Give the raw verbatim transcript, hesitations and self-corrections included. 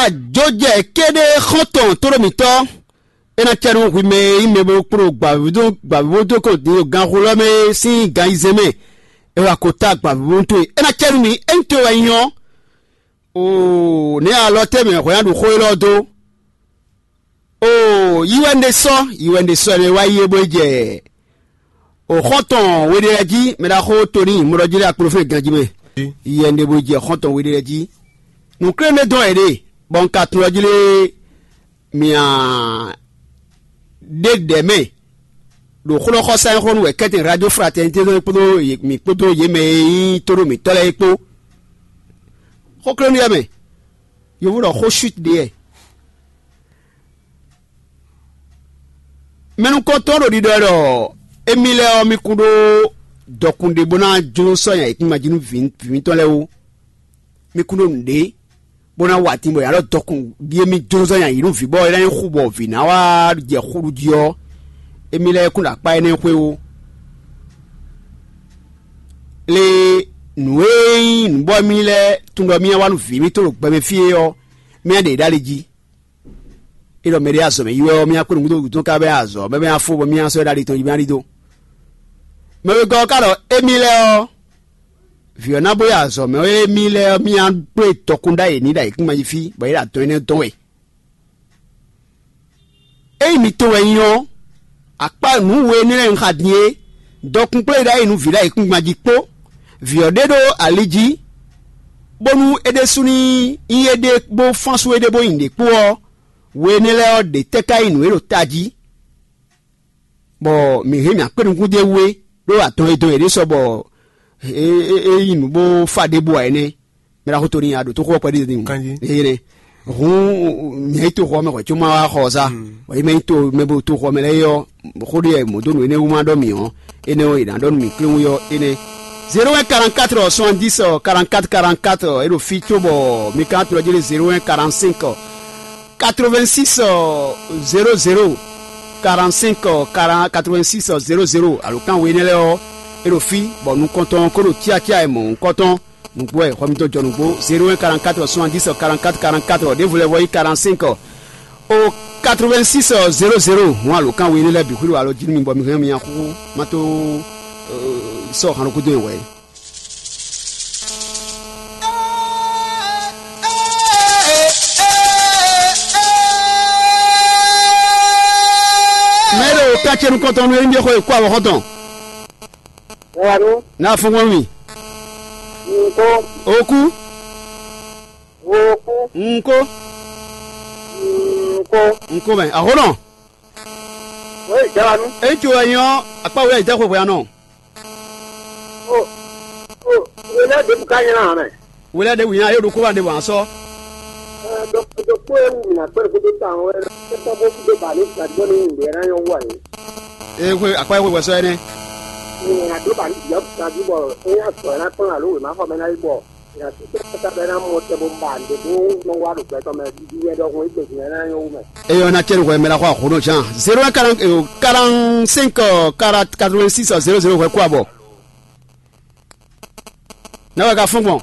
Ajojɛ kéɖé xɔ́ntɔn tóɖó mǐtɔn, é ná cɛ nú hwi mɛ e nyí mɛ bo kpló gbǎvíbodókɔn din ɖo ganxolɔ́ mɛ é sín gan ayizɛ́n mɛ, é wá ko tá gbǎvíbonu towe. É ná cɛ nú mi, é nyí towe wɛ nyí ɔ́. Oo, nɛ̌ alɔ tɛ́ mɛ hwɛ ná ɖu xó élɔ́ dó? Oo, yi wɛ un ɖe sɔ́, yi wɛ un ɖe sɔ́ ɛnɛ wá yi é bó yi jɛ o xɔ́ntɔn we ɖé lɛ́ɛ jí, mɛ ɖaxó Toni mɔɖɔjí lɛ́ɛ akplɔ́fɛ́n ganjí mɛ. Yi wɛ un ɖe bó yi jɛ xɔ́ntɔn we ɖé lɛ́ɛ jí. Nǔklénúɖé dɔn wɛ ɖe, bɔ un ka tunwun ɔ́ jí lé mia ɖe ɖɛ̌ mɛ ɖo xlɔ́xɔsá e xo nú wɛ kɛ́tɛn Radio Fraternité kpódó mǐ kpódó yě mɛ e nyí tóɖó mǐtɔn lɛ́ɛ é kpó. Xóklénúyɛ mɛ, yovo ɖɔ xó chute ɖe wɛ. Mɛ nukɔntɔn ɖo ɖiɖɔ wɛ ɖɔ émí lɛ́ɛ ɔ́, mí kún ɖó dɔkun ɖé bó ná jló sɔ́ nya yěkúngban jí nú vǐ mǐtɔn lɛ́ɛ ó. Mi kún ɖó nǔɖé bó ná wa din bɔ yǎ ɖɔ dɔkun ɖíe mì jló zɔ́n nyi ayǐ nú vǐ bɔ é ná nyí xu bɔ vǐ ná wá jɛ xu ɖu jí ɔ́, émí lɛ́ɛ kún ɖo akpá énɛ́ xwé ó. Lě nǔ e nyí nǔ bɔ émí lɛ́ɛ tunwun ɖɔ mì wá nú vǐ mítɔn ɖo gbɛmɛ fí é ɔ́, mì ɖe ɖ'ali jí. É ɖɔ mɛɖé azɔ̌ mɛ yi wɛ ɔ́, mì kpé nǔgbó dó wǔtɔn ká bɛ azɔ̌ mɛ bɛ afó bɔ mì sɔ́ ɛ ɖ'ali tɔn jí mì ɖidó. Mɛ wegɔ́ ɔ́ ka ɖɔ émí lɛ́ɛ ɔ́, vǐ ɔ́ ná bó yi azɔ̌ mɛ wɛ émí lɛ́ɛ ɔ́, mì kplé dɔkun ɖ'ayǐ ní ɖo ayǐkúngban jí fí, bɔ é ɖo adɔn énɛ́ dɔn wɛ. Ényí mi to wɛ nyí ɔ́, akpá nǔ we énɛ́ lɛ́ɛ un xa din é, dɔkun kplé ɖ'ayǐ nú vǐ ɖo ayǐkúngban jí kpó, vǐ ɔ́ ɖe ɖó ali jí, bónú é ɖésú ní nyí éɖée bó fán sú éɖée bó nyi ɖě kpó ɔ́, we énɛ́ lɛ́ɛ ɔ́, ɖě tɛ́ ka nyí nǔ e ɖo tají? Bɔ mǐ hɛn mǐ akpé nukún d'é wú é, ɖó atɔn e dɔn yě ɖé sɔ bɔ é nyí nǔ bó fa ɖěbǔ ǎ é nɛ́. Mɛ ɖaxó Toni, a ɖǒ tó xó ɔ́ kpɛɖé din. Kanjí. Eye nɛ. Hǔn mǐ yi toxo ɔ́ mɛ hwɛ̌ có má wá xɔ ɔ́ sá. Bɔ yi mɛ yi to mɛ bo toxo ɔ́ mɛ lɛ́ɛ ɔ́, xó ɖé mɔ̌ dó nǔ énɛ́ wú má ɖɔ mǐ ɔ́, énɛ́ ɔ́, è nǎ ɖɔ nú mǐ kléwún ɔ́ énɛ́. Zéro un quarante-quatre soixante-dix quarante-quatre quarante-quatre, é ɖo fí cóbɔ mi ka tunwun jí zéro un quarante-cinq quatre-vingt-six zéro zéro quarante-cinq quatre-vingt-six zéro zéro, alǒkan we énɛ́ lɛ́ɛ ɔ́, é ɖo fí, bɔ nukɔntɔn ɔ́ ko ɖo cyácyá e mɔ̌hunkɔtɔn nǔgbó wɛ. Xɔ mitɔn jɔ nǔgbó zéro un quarante-quatre soixante-dix quarante-quatre quarante-quatre, ɖěvo lɛ́ɛ vɔ yi quarante-cinq au quatre-vingt-six zéro zéro. Hǔn alǒkan we énɛ́ lɛ́ɛ bǐ xwíɖo alɔ jí nú mi bɔ mi hɛn mi nyaxúxú má tó sɔ́ han ɖokúdó nyi wɛ. Mɛ ɖo ká ce nukɔntɔn nú é ɖíe xɔ e kú avɔ xɔtɔn. Wanu. N'a fún wọn mi. Nko. Oku. Oku. Nko. Nko. Nko mɛ ahonɔ. Wei jawanu. Eyi tso wɛ nyɔ akpa wɛ ɛdɛ xwexwe anɔ. O. O. Wele de bu ka nyina hàn mɛ. Wele de wina yóò ɖokó wa ɖe wǎn sɔ. Ɛ dɔkpɔ e wù mí nà kpɛ́ ɖokpó dó ta ɔ́ wɛ kɛtɔ bó kú dó ba ní gbàdúgbò ní ìgbé rán yọ wú àyè. Ee xwe akpa xwe wɛsɔ ɛnɛ. Ní àdó ba ní ìyá gbàdú bɔ é yà sɔ ẹ̀ ná kplɔ́n àló wèmá xɔ mɛ ná yí bɔ ìyá tó tẹ́ ká bɛ ná mɔ tɛ bó ba ǹdè bó nɔ wá ɖo gbɛtɔ mɛ dídí wɛ ɖɔhun é gbèsè ná yọ wú mɛ. Eyɔ na cɛ nukɔ mɛ la xɔ ahono jan zéro un quarante quarante cinq quatre-vingt-six zéro zéro hwɛ kó abɔ. Na wɛ ka fún gbɔn.